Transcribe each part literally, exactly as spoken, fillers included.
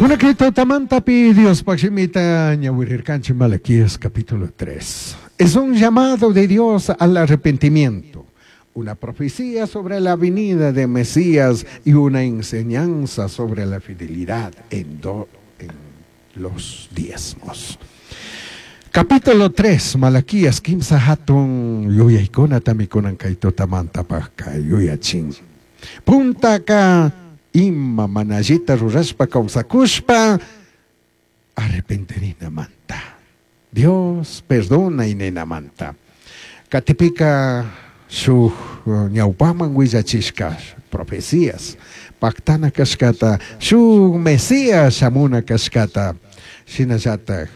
Kunan tutamantapi Diospaj shimita ñawirirkanchik Malaquías capítulo tres. Es un llamado de Dios al arrepentimiento, una profecía sobre la venida de Mesías y una enseñanza sobre la fidelidad en, do, en los diezmos. Capítulo tres, Malaquías, kimsa hatun yuyaykunatami kunan kay tutamantapajka yuyachin. Puntaka ima mana allita rurashpa kawsakushpa arrepentirinamanta. Dios perdona ninamanta. Katipika shuk ñawpaman willachishka profecías paktana kashkata, shuk Mesías shamuna kashkata, shinallatak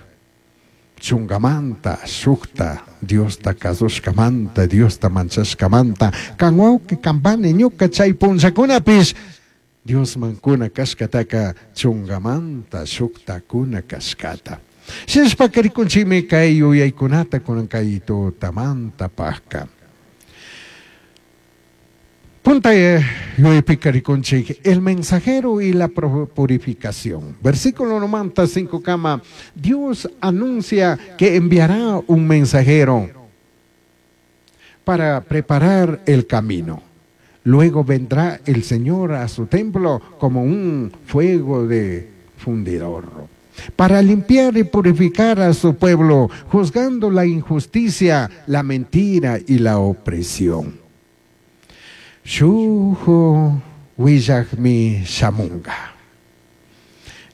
chungamanta, shukta, Diosta kasushkamanta, Diosta manchashkamanta, kan wawqi kanpani ñuka chay punllakunapish Diosman kuna kashkataka chungamanta, shukta kuna kashkata. Shinashpaka rikunchikmi kay yuyaykunata kunan kay tutamanta pajka. Punta yuyaypika rikunchik el mensajero y la purificación. Versículo noventa cinco kama, Dios anuncia que enviará un mensajero para preparar el camino. Luego vendrá el Señor a su templo como un fuego de fundidor, para limpiar y purificar a su pueblo, juzgando la injusticia, la mentira y la opresión. Shuhu willajmi shamunga.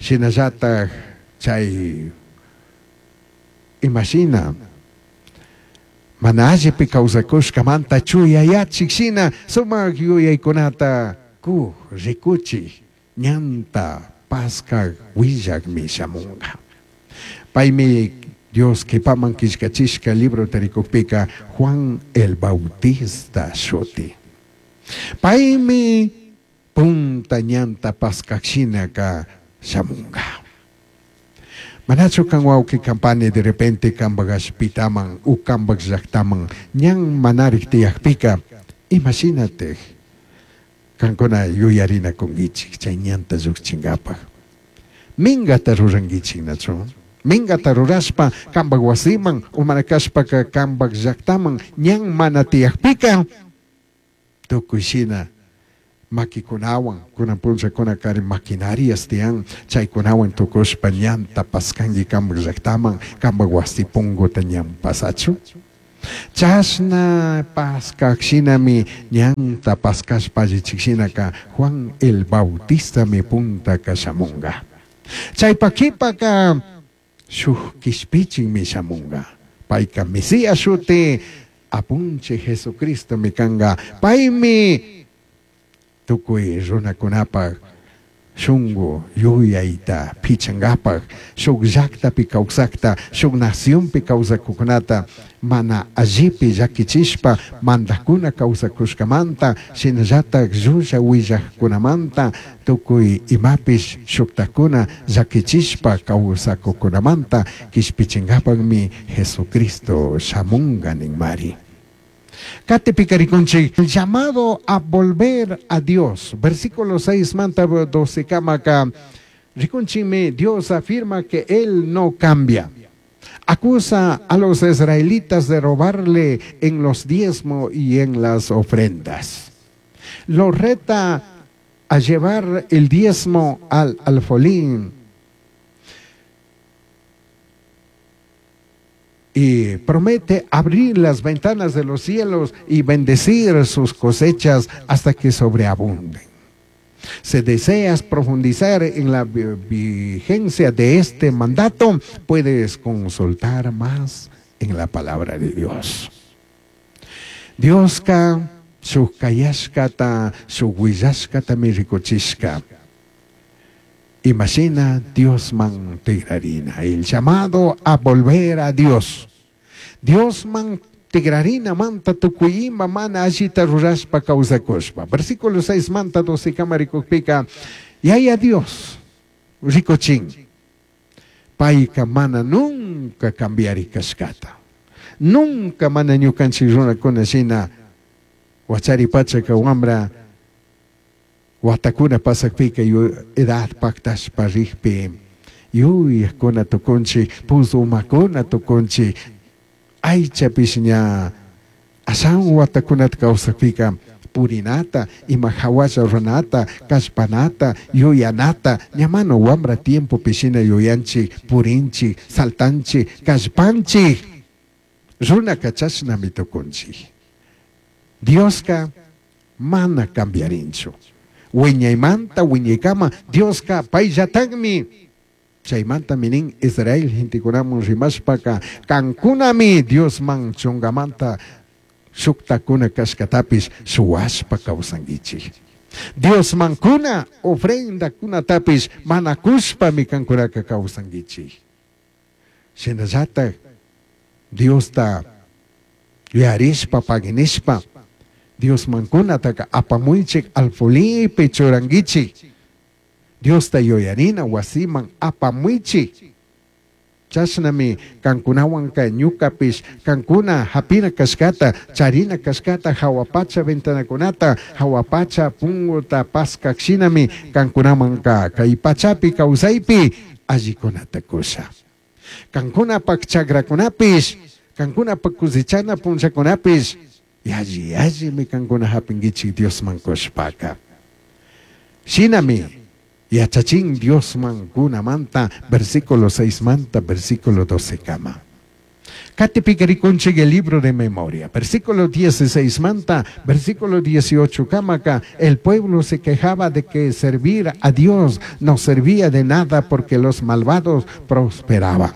Shinallataj chay imashina mana allipi kawsakushkamanta chuyayachik shina sumak yuyaykunata kuj rikuchik ñanta paskak willakmi shamunga. Paymi Dios kipaman killkachishka libro tarikukpika Juan el Bautista shuti. Paymi punta ñanta paskak shinaka shamunga. Manachu kan wawqi kampani de repente kambak ashpitaman u kambak llaqtaman ñan manarik tiyakpika imashinatik kankuna yuyarinakunkichik chay ñanta lluqchinkapaq. Mingata rurankichik nachu. Mingata rurashpa kambak wasiman u mana kashpaka kambak llaqtaman ñan mana tiyakpika tukuy shina makikunawan kunan punllakuna kari maquinarias tiyan chaykunawan tukushpa ñanta paskanki kambak llaqtaman kambak wasi punguta ñan pasachu. Chashna paskak shinami ñanta paskashpa allichik shinaka Juan el Bautista mi puntaka shamunga. Chaypa kipaka shuk kishpichinmi shamunga. Payka Mesías shuti apunche Jesucristo mi kanga. Paymi tukuy runakunapaj shungu yuyayta pichankapaj shuk llaqtapi kawsakta shuk nacionpi kawsakukunata mana allipi llakichishpa mandakuna kawsakushkamanta shinallatak llulla willajkunamanta tukuy imapish shuktakuna llakichishpa kawsakukunamanta kishpichinkapakmi Jesucristo shamunga ninmari. Katipika rikunchik, el llamado a volver a Dios. Versículo seis manta doce kamaka. Rikunchime, Dios afirma que Él no cambia. Acusa a los israelitas de robarle en los diezmos y en las ofrendas. Los reta a llevar el diezmo al alfolín. Y promete abrir las ventanas de los cielos y bendecir sus cosechas hasta que sobreabunden. Si deseas profundizar en la vigencia de este mandato, puedes consultar más en la palabra de Dios. Dioska shuk kayashkata, shuk willashkatami rikuchishka. Imagina Dios man tigrarina, el llamado a volver a Dios. Dios man tigrarina manta tukuyima mana allita rurashpa kawsakushpa. Versículo seis manta doce kamarikukpika, yaya Dios rikuchin, payka mana nunca cambiari kashkata. Nunca mana ñukanchik runakuna shina wachari pachaka wambra Watakuna pasakpika edad paktashpa rikpi yuyakuna tukunchik, puzumakuna tukunchik, aychapish ña ashan watakunata kawsakpika purinata, ima hawalla ruranata, kallpanata, yuyanata, ña mana wambra tiempopi shina yuyanchik, purinchik, saltanchik, kallpanchik, runaka chashnami tukunchik. Dioska mana cambiarinchu. Wiñaymanta wiñaykama Dioska payllatakmi. Chaymantami nin Israel gentekunaman rimashpaka kankunami Diosman chungamanta shuktakuna kashkatapish shuwashpa kawsankichik. Diosman kuna ofrendakunatapish mana kushpami kankunaka kawsankichik. Shinallatak Diosta yuyarishpa paginishpa Diosman kunataka apamuychik alfolipi churankichik. Diosta yuyarina wasiman apamuychik. Chashnami kankunawanka ñukapish kankuna hapina kashkata, charina kashkata, hawa pacha ventanakunata, hawa pacha punguta paskak shinami kankunamanka kay pachapi kawsaypi allikunata kusha. Kankunapak chakrakunapish, kankunapak kusichana punllakunapish, yalli yallimi kankuna hapinkichik Diosman kushpaka. Shinami yachachin Diosman kunamanta versículo seis manta versículo doce kama. Katipika rikunchik el libro de memoria, versículo dieciséis manta, versículo dieciocho kamaka, el pueblo se quejaba de que servir a Dios no servía de nada porque los malvados prosperaban.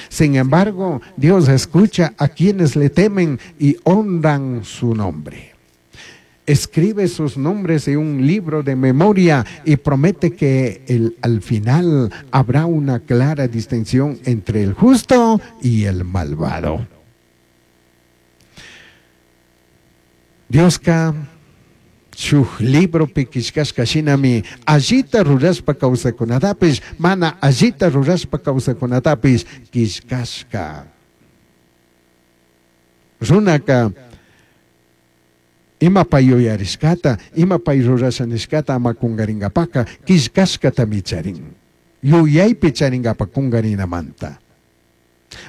Sin embargo, Dios escucha a quienes le temen y honran su nombre. Escribe sus nombres en un libro de memoria y promete que el, al final habrá una clara distinción entre el justo y el malvado. Dioska shuj libropi killkashka shinami allita rurashpa kawsakunatapish mana allita rurashpa kawsakunatapish killkashka. Runaka ima pay yuyarishkata, ima pay rurasha nishkata ama kungaringapaka killkashkatami charin. Yuyaypi charingapa kungarinamanta.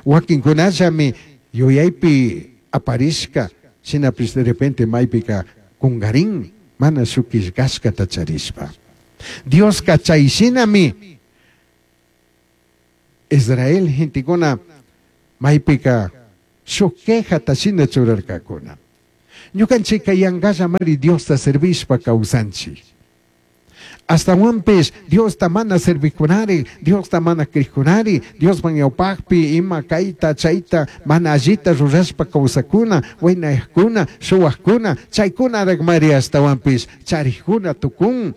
Wakinkunallami yuyaypi aparishka, shinapish de repente maypika kungarin, mana shuk killkashkata charishpa. Dioska chay shinami Israel gentekuna maypika shuk quejata shina churarkakuna. Ñukanchika yangallamari Diosta servishpa kawsanchik. Astawanpish Diosta mana servikunari, Diosta mana krikkunari, Diosman ñawpakpi ima kayta chayta mana allita rurashpa kawsakuna, waynayakuna, shuwakuna, chaykunaraqmari astawanpish charikuna tukun.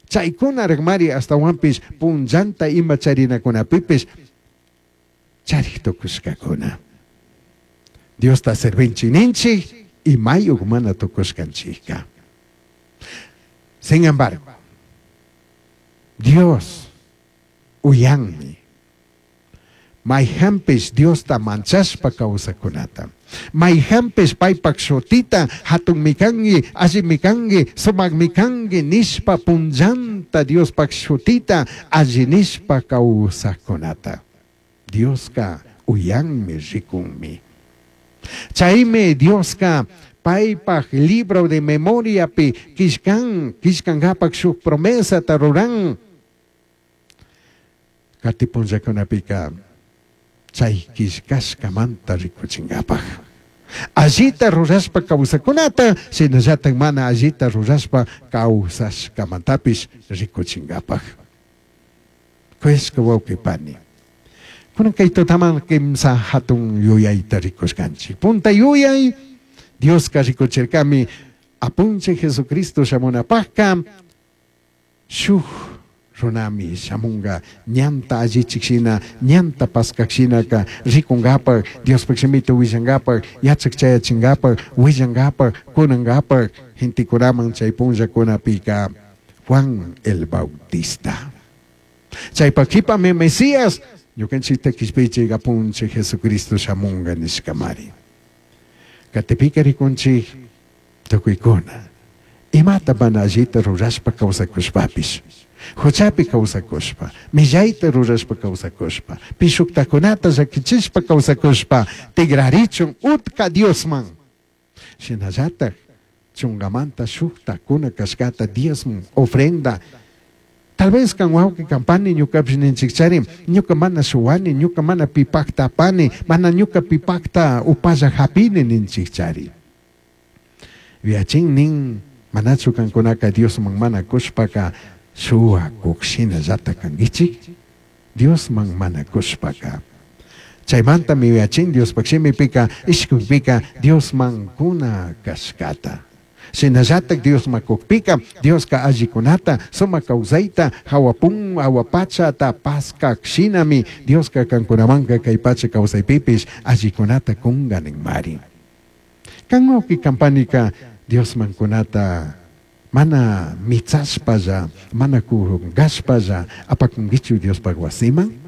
Chaykunaraqmari astawanpish punllanta ima charinakunapipish charik tukushkakuna. Diosta servinchik ninchik y mayuk mana tukushkanchikka. Sin embargo, Dios uyanmi mayhanpish Diosta manchashpa kawsakunata. Mayhanpish paypak shutita hatunmi kanki, allimi kanki, sumakmi kanki nishpa punllanta Diospak shutita alli nishpa kawsakunata. Dioska uyanmi rikunmi. Chaymi Dioska paypak libro de memoriapi killkan, killkankapak shuk promesata ruran. Kati punllakunapika chay killkashkamanta rikuchinkapak. Allita rurashpa kawsakunata, shinallatak mana allita rurashpa kawsashkamantapish rikuchinkapak. Kuyashka wawqi pani. Kunan kay tutaman kimsa hatun yuyayta rikushkanchik. Punta yuyay, Dioska rikuchirkami apunchik Jesucristo shamunapakka shuk runami shamunga ñanta allichik shina, ñanta paskak shinaka rikungapak, Diospak shimita willangapak, yachak chayachingapak, willangapak, kunangapak, gentekunaman chay punllakunapika Juan el Bautista. Chaypak qhipami Mesías ñukanchikta kishpiychik apunchik Jesucristo shamunga nishkamari. Katipika rikunchik tukuykuna Imata mana allita rurashpa kawsakushpapish, huchapi kawsakushpa, millayta rurashpa kawsakushpa, pishuktakunata llakichishpa kawsakushpa, tigrarichun utka Diosman. Shinallatak chungamanta shuktakuna kashkata diezmo, ofrenda. Tal vez kan wawqi kan pani ñukapish ninchikchari, ñuka mana shuwani, ñuka mana pipakta apani, mana ñuka pipakta upalla hapini ninchikchari. Yuyachin nin, manachu kankunaka Diosman mana kushpaka shuwakuk shinallata kankichik? Diosman mana kushpaka. Chaymantami yuyachin Diospaj shimipika, ishkuypika Diosman kuna kashkata. Shinallatak Diosman kukpika, Dioska allikunata, sumak kawsayta, hawapun, hawapachata paskak shinami, Dioska kankunamanka kay pacha kawsaypipish allikunata kunga ninmari. Kan wawqi kan panika Diosman kunata mana mitsashpalla, mana kungashpalla apakunkichu Diospaj wasiman?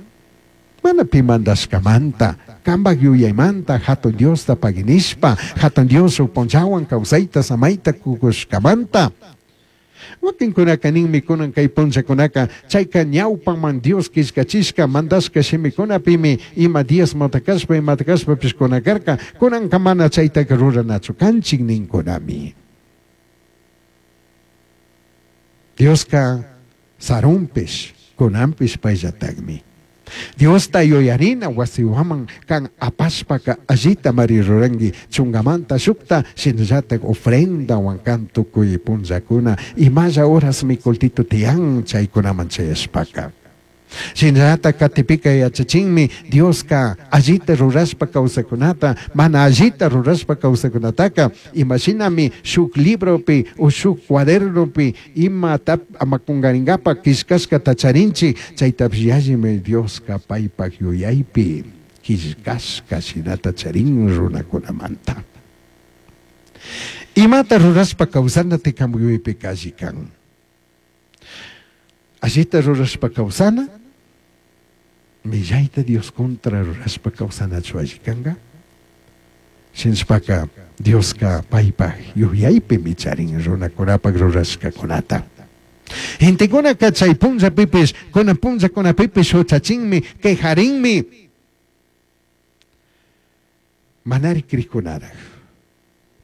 Mana pi mandashkamanta, kambak yuyaymanta hatun Diosta paginishpa, hatun Dios punchawan kawsayta samayta kukushkamanta. Wakinkunaka ninmi kunan kay punchakunaka chayka ñawpaman Dios killkachishka mandashka shimikunapimi ima diezmota kashpa imata kashpapish kuna karka, kunanka mana chaytaka ruranachu kanchik ninkunami. Dioska sarunpish kunanpish payllatakmi. Diosta yuyarina wasiwaman kan apashpaka allita mari ruranki chungamanta shukta shinallatak ofrendawan kan tukuy punllakuna imalla horas mikultito tiyan chaykunaman chayashpaka. Shinallatak katipika yachachinmi Dioska allita rurashpa kawsakunata mana allita rurashpa kawsakunataka imashinami shuk libropi o shuk cuadernopi ima tap amakungaringapa killkashkata charinchik chaytapish yallimi Dioska paypak yuyaypi killkashka shinata charin runakunamanta. Imata rurashpa kawsana tikamuypika alli kan. Allita rurashpa kawsana, millayta Dios contra rurashpa kawsanachu alli kanka? Shinashpaka Dioska paypak yuyaypimi charin runakunapak rurashkakunata. Gentekunaka chay punllapipish, kunan punllakunapipish huchachinmi, quejarinmi. Manari krikunaraj.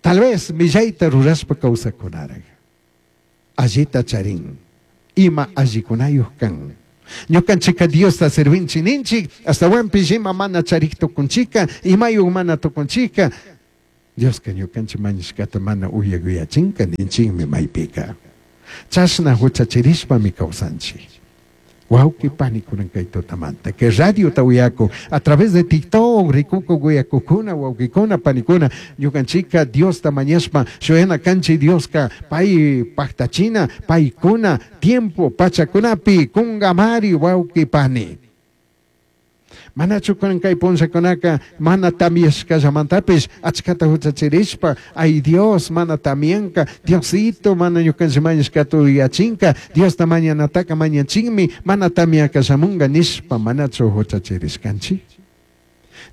Tal vez millayta rurashpa kawsakunaraj. Allita charin. Ima allikunayuq kan. Ñukanchika Diosta servinchik ninchik, astawanpish ima mana charik tukunchika, imayuq mana tukunchika, Dioska ñukanchik mañashkata mana uyak uyachinka ninchikmi maypika. Chashna huchachirishpami kawsanchik. Wawqi panikunan kay tutamanta, que radio uyaku, a través de TikTok, rikuku uyakukuna, wawqikuna, panikuna, ñukanchika Diosta mañashpa, shuyana kanchi Dioska, pay paktachina, paykuna, tiempo, pachakunapi, kungamari, wawqi pani. Manachu kunan kay punllakunaka, mana tamyashkallamantapis, achkata huchachirishpa, ay Dios, mana tamyanka, Diosito, mana ñukanchik mañashkata uyachinka, Diosta mañanataka mañachinmi, mana tamyakallamunga nishpa, manachu huchachirishkanchik.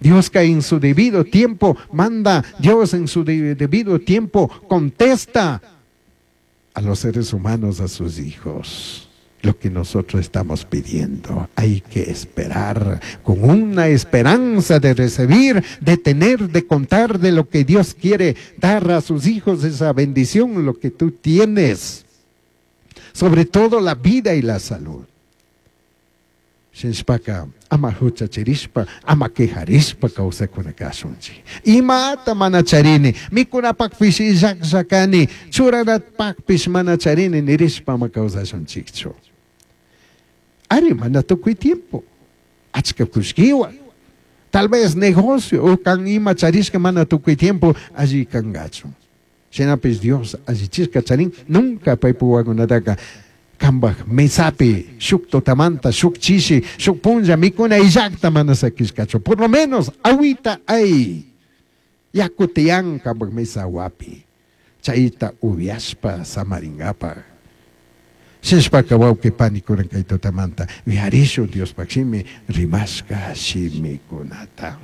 Dioska en su debido tiempo manda, Dios en su de-, debido tiempo contesta a los seres humanos, a sus hijos. Lo que nosotros estamos pidiendo, hay que esperar con una esperanza de recibir, de tener, de contar de lo que Dios quiere dar a sus hijos, esa bendición, lo que tú tienes, sobre todo la vida y la salud. Shinshpaka, ama huchachirishpa, ama quejarishpa kawsakunakasunchik. Imata mana charini, mikunapakpish illakllakani, churanapakpish mana charini, nirishpa ama kawsashunchikchu. Ari mana tukuy tiempo, achka kushkiwa, tal vez negocio, o kan ima charishka mana tukuy tiempo, alli kangachu. Shinapish Dios allichishka charin, nunca paypuwakunataka kambaj mesapi, shuk totamanta, shuk chishi, shuk punlla, mikuna illakta mana sakishkachu. Por lo menos, agüita hay. Yakutiyan kambaj mesa wapi. Chayta ubiashpa samaringapa. Shishpaka wawqi panikunan kay tutamanta, wiharishu Diospaq shimi rimashka shimikunata.